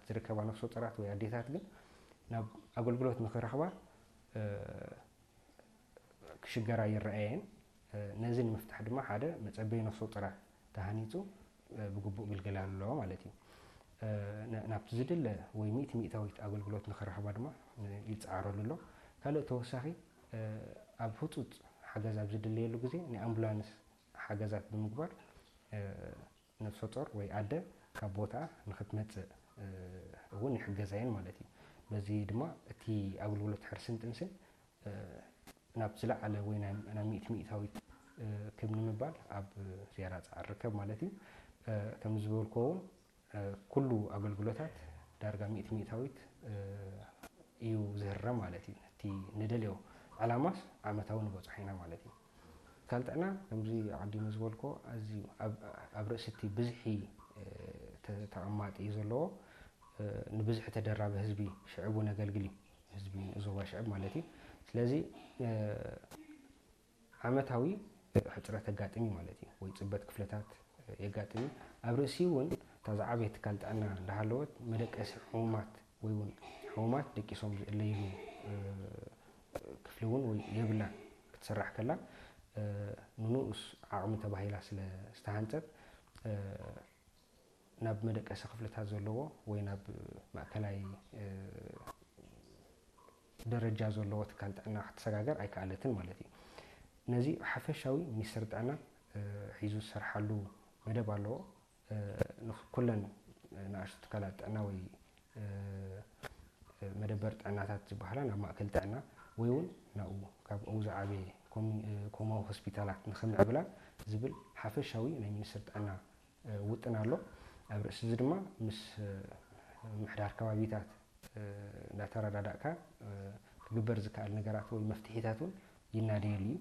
ዝርከባ ነፍሰ ጡራት ወይ ኣዴታት ግን ናብ ኣገልግሎት ንኽረኽባ ክሽገራ ይረኣየን። ነዚ ንምፍታሕ ድማ ሓደ መጸበይ ነፍሰ ጡራት ተሃኒጹ ብግቡእ ግልገል ኣሎ ማለት እዩ። ናብቲ ዝድለ ወይ ሚእቲ ሚእታዊት ኣገልግሎት ንኽረኽባ ድማ ይጸዓረሉ ኣሎ። ካልእ ተወሳኺ ኣብ ህጹጽ ሓገዝ ኣብ ዝድለየሉ ግዜ ናይ ኣምቡላንስ ሓገዛት ብምግባር ነፍሰ ጡር ወይ ኣደ ካብ ቦታኣ ንኽትመጽእ እውን ይሕገዛየን ማለት እዩ። በዚ ድማ እቲ ኣገልግሎት ሕርስን ጥንስን ናብ ዝለዓለ ወይ ናብ ሚእቲ ሚእታዊት ክብ ንምባል ኣብ ዝያዳ ጻዕር ርከብ ማለት እዩ። ከም ዝበልኩዎ እውን ኩሉ ኣገልግሎታት ዳርጋ ሚእቲ ሚእታዊት እዩ ዝህረም ማለት እዩ። እቲ ንደልዮ ዕላማስ ዓመታዊ ንበጽሖ ኢና ማለት እዩ። ትካል ጥዕና ከምዚ ኣቐዲሙ ዝበልኮ ኣዝዩ ኣብ ርእሲ እቲ ብዝሒ ተቐማጢ እዩ ዘለዎ። ንብዝሒ ተደራቢ ህዝቢ ሽዕቡ ነገልግል እዩ። ህዝቢ ዞባ ሽዕብ ማለት እዩ። ስለዚ ዓመታዊ ሕፅረት ኣጋጥም እዩ ማለት እዩ፣ ወይ ፅበት ክፍለታት የጋጥም እዩ። ኣብ ርእሲ እውን እታ ዝዓበየ ትካል ጥዕና እንዳሃለወት መደቀሲ ሕሙማት ወይ እውን ሕሙማት ደቂሶም ዝእለይሉ ክፍሊ እውን ወይ የብላን ክትስራሕ ከላ ንንኡስ ዓቕሚ ተባሂላ ስለ ዝተሃንፀት ናብ መደቀሲ ክፍልታት ዘለዎ ወይ ናብ ማእከላይ ደረጃ ዘለዎ ትካል ጥዕና ክትሰጋገር ኣይከኣለትን ማለት እዩ። ነዚ ሓፈሻዊ ሚኒስትሪ ጥዕና ሒዙ ዝሰርሓሉ መደብ ኣለዎ። ኩለን ንኣሽቱ ትካላት ጥዕና ወይ መደበር ጥዕናታት ዝበሃላ ናብ ማእከል ጥዕና ወይ እውን ናብኡ ካብ ዝዓበየ ኮማዊ ሆስፒታላት ንኽምዕብላ ዝብል ሓፈሻዊ ናይ ሚኒስትሪ ጥዕና ውጥን ኣሎ። ኣብ ርእሲ እዚ ድማ ምስ ምምሕዳር ከባቢታት እንዳተረዳዳእካ ክግበር ዝከኣል ነገራት ወይ መፍትሒታት እውን ይናደየሉ እዩ።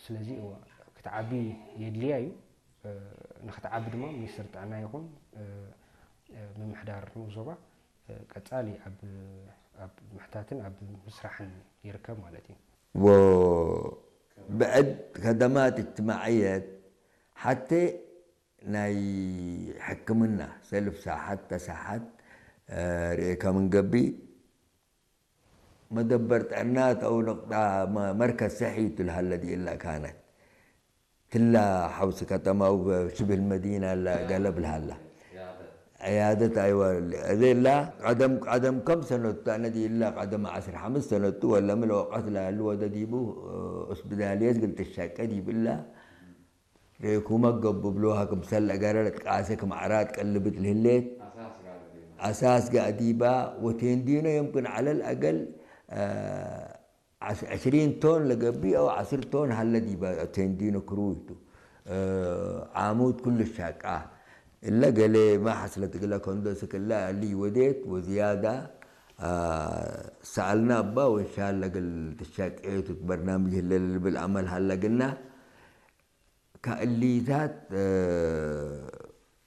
ስለዚ ክትዓቢ የድልያ እዩ። ንክትዓቢ ድማ ሚኒስትሪ ጥዕና ይኹን ምምሕዳር ንኡስ ዞባ ቀጻሊ ኣብ ምሕታትን ኣብ ምስራሕን ይርከብ ማለት እዩ። وبعد خدمات اجتماعية حتى ናይ ሕክምና ሰልፍ ሳሓት ተሳሓት ርኤካ ምንገቢ መደበር ጥዕና ተው ነቕጣ መርከዝ ሰሒቱ ልሃለዲ ኢላ ካነት ትላ ሓውሲ ከተማው ሽብል መዲና ላ ገለብ ልሃላ عيادة أيوة ذيلا قدم قدم كم سنة أنا دي إلا قدم عشر خمس سنة ولا من الوقت لا اللي ودا ديبو أسبداليات قلت الشاكة دي بالله ريكو ما قبب لوها كم سلة قررت قاسك معرات قلبت الهليت أساس قاعديبا وتندينا يمكن على الأقل آه عشرين ቶን ለገብእ ኣው ዓስር ቶን ሃለ ዲበ ቴንዲኖ ክሩይቱ ዓሙድ ኩሉ ሻቃ እለ ገሌ ማሐስ ለትግለ ከንዶ ስክላ ሊ ወዴት ወዝያዳ ሰኣልና እባ ወንሻል ለግል ትሻቅየቱ በርናምጅ ህለ ልብል ኣመል ሃለ ግና ካእሊታት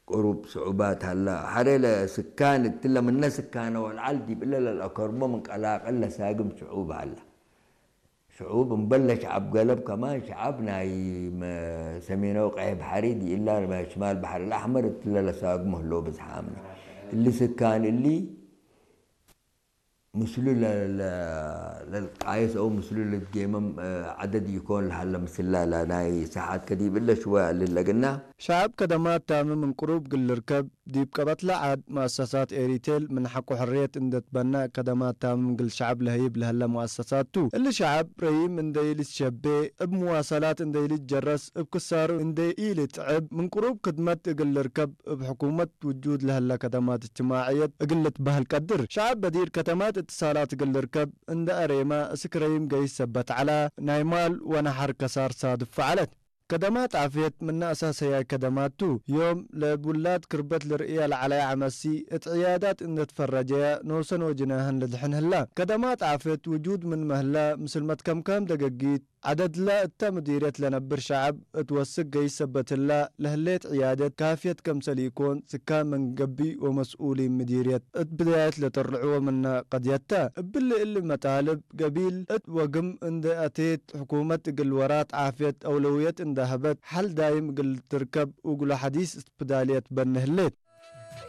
ቁሩብ ስዑባት ሃላ። ሐሬ ለስካን እትለ ምነ ስካነ ወልዓል ዲብ እለ ለልአከርቦ ምን ቀላቅል ለሳግም ሽዑብ ሃላ። ሽዑብ እምበል ለሸዓብ ገለብ ከማን ሸዓብ ናይ ሰሜናዊ ቀይሕ ባሕሪ ዲኢላ ሽማል ባሕሪ ልአሕመር እትለ ለሳግሞ ህለው ብዝሓ ኣምነ። እሊ ስካን እሊ ምስሉ ለልቃየስ አው ምስሉ ልትጌመም ዐደድ ይኮን ለሀለ ምስላ ለናይ ሰሓት ከዲብ እለ ሽወ ልለግና። ሸዐብ ከደማት ታምም እንቅሩብ እግል ልርከብ፣ ዲብ ቀበትለ ዐድ መአሰሳት ኤሪቴል ምን ሐቆ ሕርየት እንዴ ትበነእ ከደማት ታምም እግል ሸዐብ ለህይብ ለሀለ መአሰሳት ቱ። እሊ ሸዐብ ረይም እንዴ ኢልትሸቤ፣ እብ ምዋሰላት እንዴ ኢልትጀረስ፣ እብ ክሳሩ እንዴ ኢልትዕብ፣ ምን ቅሩብ ክድመት እግል ልርከብ፣ እብ ሕኩመት ውጁድ ለሀለ ከደማት እጅትማዕየት እግል ልትበህል ቀድር። ሸዐብ በዲር ከተማት እትሳላት እግል ልርከብ እንደ አሬመ፣ እስክ ረይም ገይስ ሰበት ዐለ፣ ናይ ማል ወነሐር ከሳር ሳድፍ ፈዐለት። ከደማት ዓፍየት ምነ አሳሰያይ ከደማት ቱ። ዮም ለእብ ውላድ ክርበት ልርእየ ለዐለየ ዐመሲ፣ እት ዕያዳት እንደ ትፈረጀየ፣ ኖሰን ወጅነህን ልድሕን ህለ። ከደማት ዓፍየት ውጁድ ምንመ ህለ፣ ምስል መትከምካም ደገጊት፣ ዐደድለ እተ ምዲርየት ለነብር ሸዐብ እት ወስክ ገይስ ሰበት ህለ፣ ለህሌት ዕያደት ካፍየት ከምሰል ኢኮን፣ ስካን ምን ገብእ ወመስኡሊን ምዲርየት እት ብዳየት ለጠርዕዎ ምነ ቀድየት ተ። እብሊ እሊ መጣልብ ገቢል እት ወግም እንዴ አቴት፣ ሕኩመት እግል ወራት ዓፍየት አውለውየት እንዴ ሀበት፣ ሐል ዳይም እግል ትርከብ ውግሎ ሐዲስ እስትብዳልየት በኒ ህሌት።